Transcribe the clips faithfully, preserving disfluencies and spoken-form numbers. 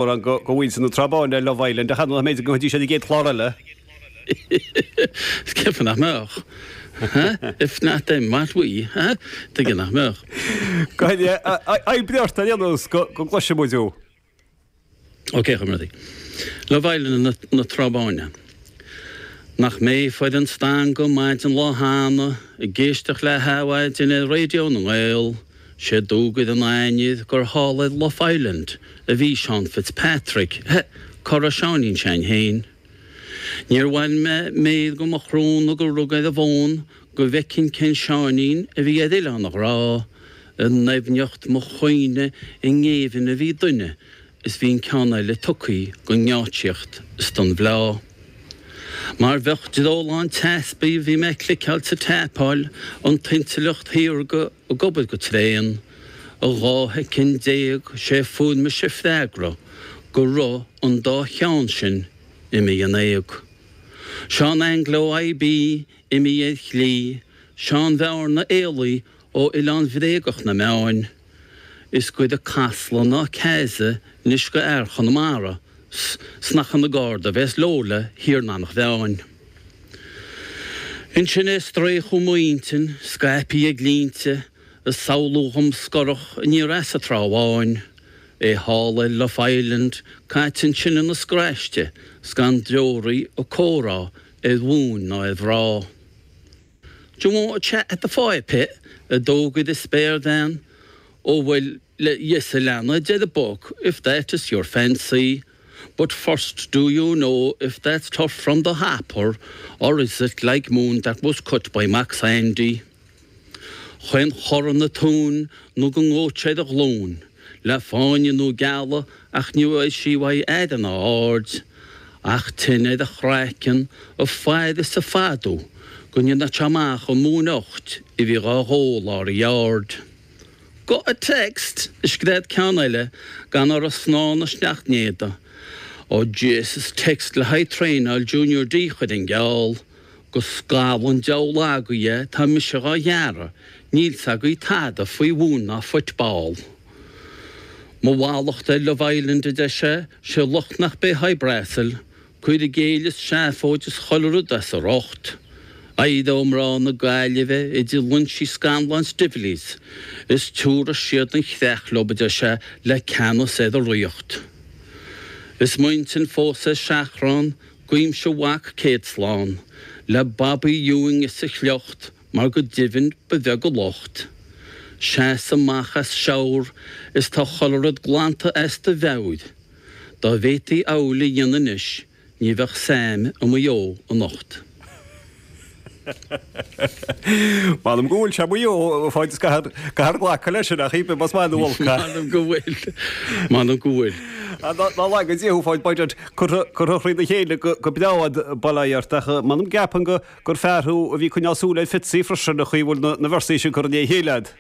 Mórán go mhuintir na Trá Báine ar Love Island, ach an mbeidh go dtí sé an gcéad chlár eile? Is ceapaim nach mbeadh. If not them, what we? Tuige nach mbeadh? Go oibrigh ort ar aon nós go gcloisfidh muid thú. Ok, a chomrádaí. Love Island na Trá Báine. Nach mé a fuair an stangadh maidin lá cheana ag éisteacht le hadhmhaidin ar Raidió na nGael, sé d'fhógair an ainnir gur thall ar Love Island a bhí Seán Fitzpatrick, he, cara Sheáinín s'againn féin. Níor bhain mé méar go mo shrón gur rug ar an bhfón go bhfeicfinn cén Seáinín a bhí ar Oileán an Ghrá, i ndoimhneacht mo chuimhne i ngéibheann a bhí duine is bhí an ceann eile tugtha don ngeáitsíocht is don bhfleá. Mar bheadh dreolán teaspaí bhí mé ag cliceáil 's ag taipeáil, an t-intleacht shaorga ag obair go tréan. I dhá shoicind déag sé fuair mise freagra go raibh an dá cheann sin imithe in éag. Seán Anglo IB imithe ar shlí, Seán Bhearna éalaithe ó oileán bhréagach na meáin. Is goire Casla ná Casa anois go fhear Chonamara 's nach ina Garda a bheas Lola thiar in Eanach Mheáin. Ansin é ag strae chugam m'intinn, scaipthe ag línte, ag samhlú dhom scorach aniar as an Trá Bháin, é thall ar Love Island, caite ansin ina scraiste 's gan deoraí ag comhrá ar mhóin ná ar mhná. Do you want a chat at the fire pit? a d'fhógair an spéirbhean. Ó bhuel, yes a leana, a deir an boc, if that is your fancy. But first do you know if that's turf from the hopper or is it like moon that was cut by Mac Sandy? Chaon chor ina tóin nó go ngóid sé ar a ghlúin, le fáinne nó gealladh ach ní bhfuair sí uaidh aire ná aird, ach tine ar a chraiceann, ag faire is ag fadú go ndéanfadh sé amach an mhóin ucht a bhí dhá dhó lár an yard. Got a text! a scread ceann eile gan orthu snáth na seachtnéada. Ó Jesus, text le haghaidh traenáil Junior D chuir an geall. Go scamhadh an diabhal agaibh é, tá mise dhá ghearradh, níl 's agaibh tada faoi mhóin ná football. Mo mhallacht ar Love Island, a deir sé, sé locht nach b'é Hy Brasil, cur i gcéill is seafóid is chuile rud as a riocht. Éireoidh mná na Gaillimhe idir loinsí scannláin 's Divleys is tiúrfaidh siad an chreach leo, a deir sé, le ceannas ar a ríocht. Is m'intinn fós ar seachrán, Guímse a mhac céad slán le Bobby Ewing is a shliocht mar go deimhin ba bheag a locht. Seas amach as shower is tá chuile rud glanta as do mheabhair. Dá bhféadfaí amhlaidh a dhéanamh anois ní bheadh Sam i Maigh Eo anocht. M'anam go bhfuil sé i Maigh Eo, a Pháid, is caithfear glacadh leis sin, ach shíl mé más maith nó olc é. M'anam go bhfuil. M'anam go bhfuil. Ná laga Dia thú, a Pháid, b'fhéidir curtha thrína chéile go breá a'd, bail ó Dhia ort, ach m'anam go gceapaim gur fear thú a bhí ag coinneáil súil ar Fitzy freisin, an chaoi a bhfuil na véarsaí sin curtha i ndiaidh a chéile a'd.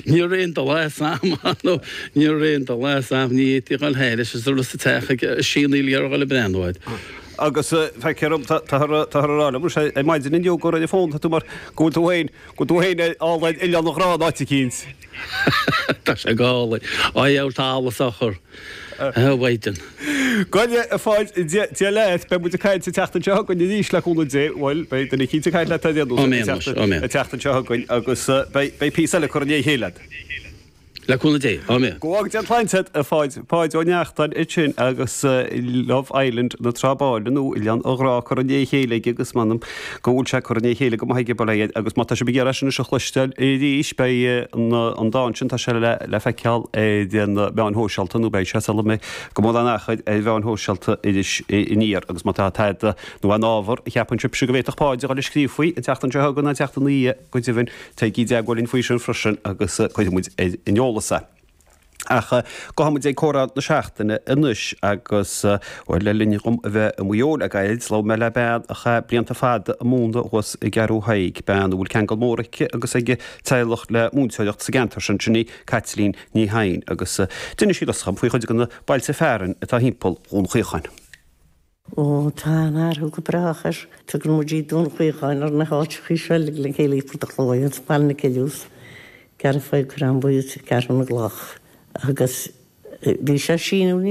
Ní raibh aon dul as a'm, nó ní raibh aon dul as a'm, ní fhéadfaí a dhul thairis is a raibh sa teach ag sianaíl ar dhul ag breathnú air. Agus feictear dom, táthar a rá liom ar maidin inniu gur ar an bhfón atá tú mar go bhfuil tú féin, go bhfuil tú féin ar thall ar Oileán an Ghrá in áit eicínt. Tá sé go hálainn. Á dheabhail tá allas á chur. A Mhaighdean. Gabh a Pháid, Dia leat, beidh muid ag caint an tseachtain seo chugainn arís le cúnamh Dé, bhuel, beidh duine eicínt ag caint leat ar aon nós an tseachtain seo chugainn agus beidh píosa eile curtha i ndiaidh a chéile agat. Le cúnamh Dé, áiméan. Go bhfága Dia an tsláinte agat, a Pháid. Páid Ó Neachtain ansin agus Love Island na Trá Báine nó Oileán an Ghrá curtha i ndiaidh a chéile aige agus m'anam go bhfuil sé curtha i ndiaidh a chéile go maith aige, bail ó Dhia air. Agus má tá sibh ag iarraidh é sin anois a chloisteáil arís, beidh an dán sin, tá sé le feiceáil ar na meáin shóisialta nó beidh sé sula mbeidh go mórán achair ar mheáin shóisialta Iris Aniar. Agus má tá tada nó aon ábhar a cheapann sibhse go bhféadfadh Páid a dhul ag scríobh faoi an tseachtain seo chugainn nó an tseachtain ina dhiaidh, Go deimhin, téigí i dteagmháil linn faoi sin freisin agus cuirfidh muid ar an eolas é. Ach gabhfaidh muid ag comhrá na seachtaine anois agus, bhuel, le linn dhom a bheith i Maigh Eo le gairid, labhair mé le bean a chaith blianta fada ag múineadh thuas i gCeathrú Thaidhg, bean a bhfuil ceangal mór aici agus ag a teaghlach le múinteoireacht sa gceantar sin, sin í Caitlín Ní Sheaghdha, agus d'inis sí domhsa faoi chuid de na bailte fearainn atá thimpeall Dhún Chaocháin. Ó, tá an-athrú go brách air. Tugann muid Dún Chaocháin ar na háiteachaí seo uilig le chéile, Port a' Chlóidhe agus Baile na Cille, Gearra Faoi Crann Buí is Ceathrú na gCloch agus Bhí sé síniú níos